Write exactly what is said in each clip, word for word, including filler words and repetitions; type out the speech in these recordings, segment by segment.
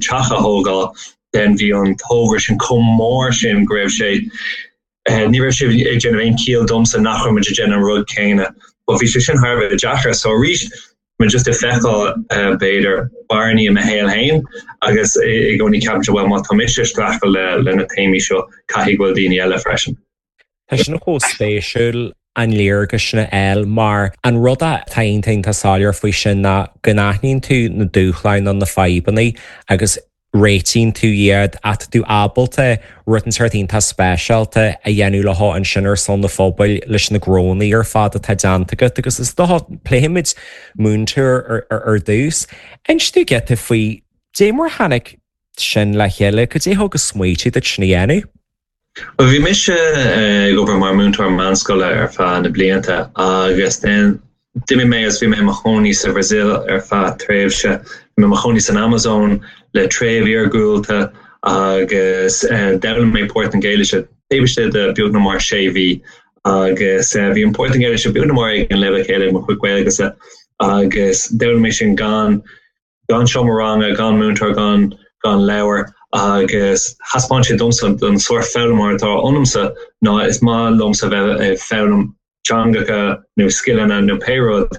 teach a thógáil then bhí an togra sin chomh mór sin go raibh sé eh, ní raibh sé ag déanamh aon chiall domsa nach raibh muid ag déanamh an rud céanna. But bhí sé sin thar a bheith deacair so arís mé just ag feiceáil uh, b'fhéidir bearnaí i mo shaol féin agus i gcónaí ceapaim well má tá mise ag streachailt le le na téamaí seo caithfidh go bhfuil daoine eile freisin. Tá sin chomh spéisiúil an léargas sin a fháil mar an rud atá iontach soiléir faoi sin ná go n-aithníonn tú na dúshláin nó na fadhbanna agus réitíonn tú iad ach tú ábalta rud inteacht iontach speisialta a dhéanamh le ansin ar son na phobail leis na gnónna ar fad atá déanta agat agus is dócha pléifimid múinteoir ar, ar, ar dtús. Inis dúinn giota faoi dé mar tháinig sin le chéile, cad é thug an smaoineamh duit sin a dhéanamh? Well bhí mise eh, ag obair mar múinteoir meánscoile ar feadh na blianta agus then d'imigh mé as bhí mé mo chónaí sa Brazil ar feadh tréimhse mé mo chónaí san Amazon le treibh iargúlta agus uh, d'fhoghlaim mé Portaingéilis taobh istigh de beagnach mar sé mhí agus uh, bhí an Portaingéilis beagnach mar ag an leibhéal céanna mo chuid Gaeilge agus d'fhoghlaim mé sin gan gan seomra ranga gan múinteoir gan gan leabhar agus thaispeáin sé domsa don sórt foghlaimeoir atá ionamsa ná is maith liomsa bheith ag foghlaim teangacha nó scileanna nó pé rud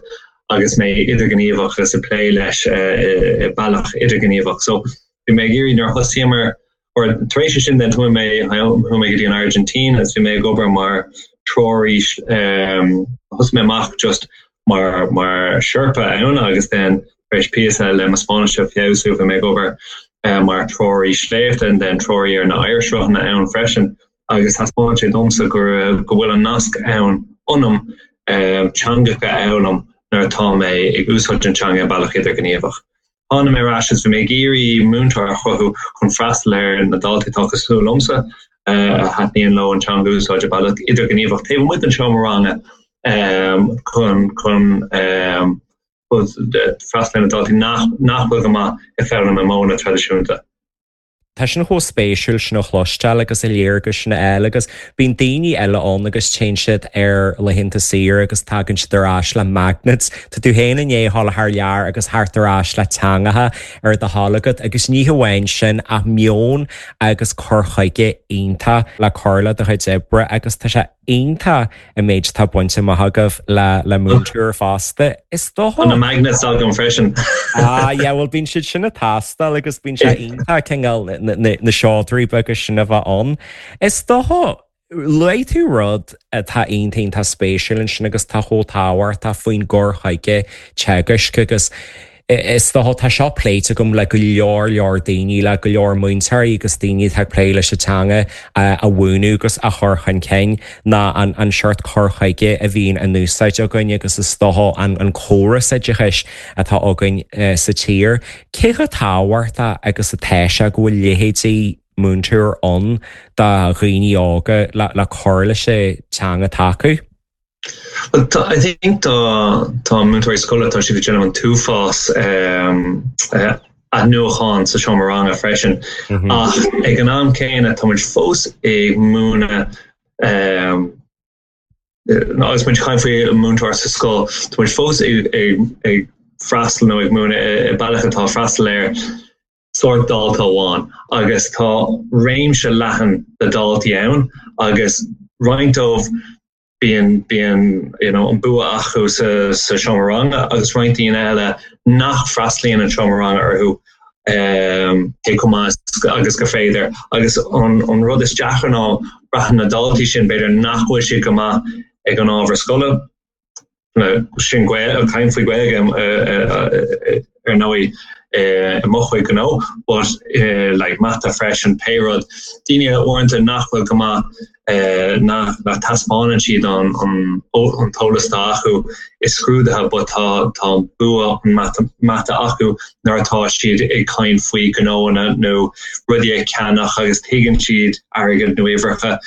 agus mé idirghníomhach agus ag plé leis i bealach idirghníomhach. So bhí mé ag iarraidh nuair thosaíomar or tar éis sin den chuaigh mé chuaigh mé go dtí an Argentina agus bhí mé ag obair mar treoraí um, thosaigh mé amach just mar mar Sherpa ann agus then éis píosa le mo Spáinnis a fheabhsú bhí mé ag obair uh, mar treoraí sléibhte and then treoraí ar na oighearshruthanna ann freisin agus thaispeáin sé domsa go go bhfuil an nasc ann ionam um, teangacha a fhoghlaim nuair atá mé ag úsáid an teanga bealach idirghníomhach. Tháinig mé ar ais bhí mé ag iarraidh múinteoir a chruthú chun freastal ar na daltaí atá cosúil liomsa a thaitníonn leo an teanga úsáid bealach idirghníomhach taobh amuigh den seomra ranga um, chun chun um, freastal ar na daltaí nach nach bhfuil go maith ag foghlaim na modhanna traidisiúnta. Tá sin chomh spéisiúil sin a chloisteáil agus a léargas sin a fháil agus bíonn daoine eile ann agus téann siad ar laethanta saoire agus tagann siad ar ais le magnets. Tá tú féin i ndiaidh dul thar lear agus theacht ar ais le teangacha ar do thoil agat agus ní hamháin sin ach meon agus cur chuige iontach le cur le do chuid oibre agus tá sé iontach an méid atá bainte amach agaibh le le múinteoir fosta. Is dócha na magnets agam freisin. Ah yeah, well bíonn siad sin ag teastáil agus bíonn sé iontach cineál na seodra beaga sin a bheith ann. Is dócha luaigh tú rud atá iontach iontach spéisiúil ansin agus tá chomh tábhachtach faoin gcur chuige teagaisc agus is dócha tá seo pléite agam le go leor leor daoine le go leor múinteoirí agus daoine atá ag plé leis an teanga a mhúineadh agus a chur chun cinn ná an an seort cur chuige a bhíonn in úsáid againn agus is dócha an an córas oideachais atá againn sa tír. Cé chomh tábhachtach agus atá sé go bhfuil leithéidí múinteoir ann do dhaoine óga le le cur leis an teanga atá acu? Well, I think tá tá múinteoirí scoile tá siad ag déanamh an t-uafás um, uh, athnuachan sa seomra ranga freisin mm -hmm. ach ag an am céanna tá muid fós ag múineadh um, agus muid ag caint faoi múinteoir sa scoil tá muid fós ag, ag, ag freastal nó ag múineadh i bealach atá freastal ar sórt dalta amháin agus tá réimse leathan de daltaí ann agus roinnt dóibh bíonn bíonn you know, an bua acu sa, sa seomra ranga agus roinnt daoine eile nach bhfreastalaíonn an seomra ranga orthu um, cé chomh maith agus gur féidir agus an, an rud is deacra ná braitheann na daltaí sin b'fhéidir nach bhfuil siad go maith ag an ábhar scoile sin caint faoi Ghaeilge ar ndóigh i mo chuid gnó, but like mata freisin pé rud daoine uaireanta nach bhfuil go maith nach nach taispeánann siad an an an t-eolas atá acu i scrúduithe but tá tá bua an mata mata acu nuair atá siad ag caint faoi gnóanna nó rudaí a cheannach agus tuigeann siad airgead nó uimhreacha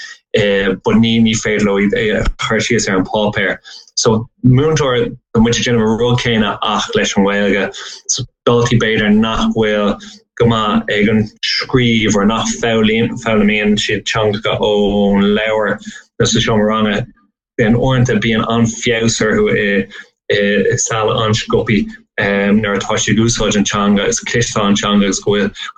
but ní ní féidir leo iad a chur síos ar an páipéar. So múinteoir tá muid ag déanamh an rud céanna ach leis an Ghaeilge. So daltaí b'fhéidir nach bhfuil go maith ag an scríobh or nach foghlaimíonn siad teangacha ón leabhar nó sa seomra ranga then uaireanta bíonn an-fheabhas orthu i i saol an-sciobtha um, nuair atá siad ag úsáid an teanga is cloisteáil an teanga agus go bhfuil go